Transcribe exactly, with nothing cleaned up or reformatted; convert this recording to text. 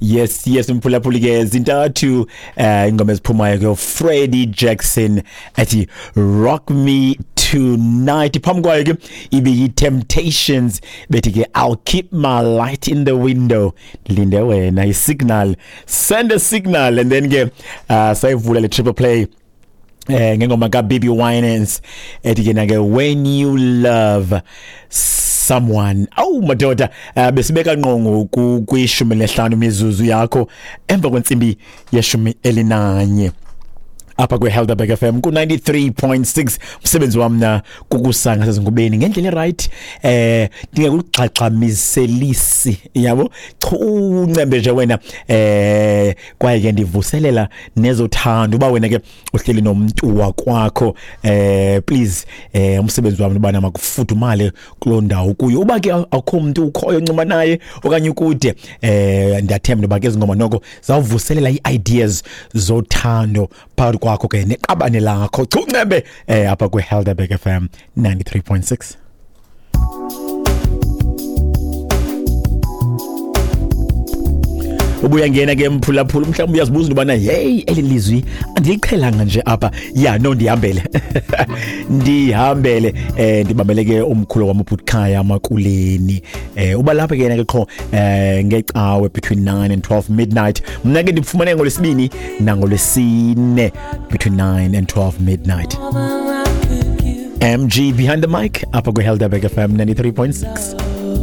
Yes, yes, mphulaphuli ke zintathu eh ingoma eziphumayo ke Freddie Jackson ethi "Rock Me Tonight", phambi kwayo ke ibe yi Temptations bethi ke "I'll Keep My Light in the Window", linde wena i-signal, send a signal. And then ke uh, sayivula le triple play eh ngengoma ka B B Winans ethi ke na ke "When You Love Someone". Awu madoda, uh, besibeka ngqongo kwishumi lesihlanu mizuzu yakho emva kwentsimbi yeshumi elinanye apha kwe-Helderberg F M ku-ninety-three point six. Umsebenzi wam na kukusanga sezingubeni ngendlela e-right, eh ndingekugxagxamiselisi yabo, chuncembe nje wena, eh kwaye ke ndivuselela nezothando. Uba wena ke uhleli nomntu wakwakho, eh please, eh umsebenzi wami ubana makufudumale kuloo ndawo kuyo. Uba ke akukho mntu ukhoyo ncuma naye okanye ukude, eh ndiyathemba uba ke ezingoma noko zawuvuselela ii-ideas zothando phakathi kwakho ke neqabane lakho. Chuncembe eh apha kwe-Helderberg F M ninety-three point six. Ubuya ngena ke mphulaphula, mhlawumbi uyazibuza into yobana hey, eli lizwi andiliqhelanga nje apha. Ya no, ndihambele ndihambele eh ndibambele ke umkhulu wam ubhuti Makuleni, eh uba lapha ke yena ke qho eh ngecawe between nine and twelve midnight. Mna ke ndifumane ngolwesibini nangolwesine between nine and twelve midnight. M G behind the mic apha kwi-Helderberg F M ninety-three point six.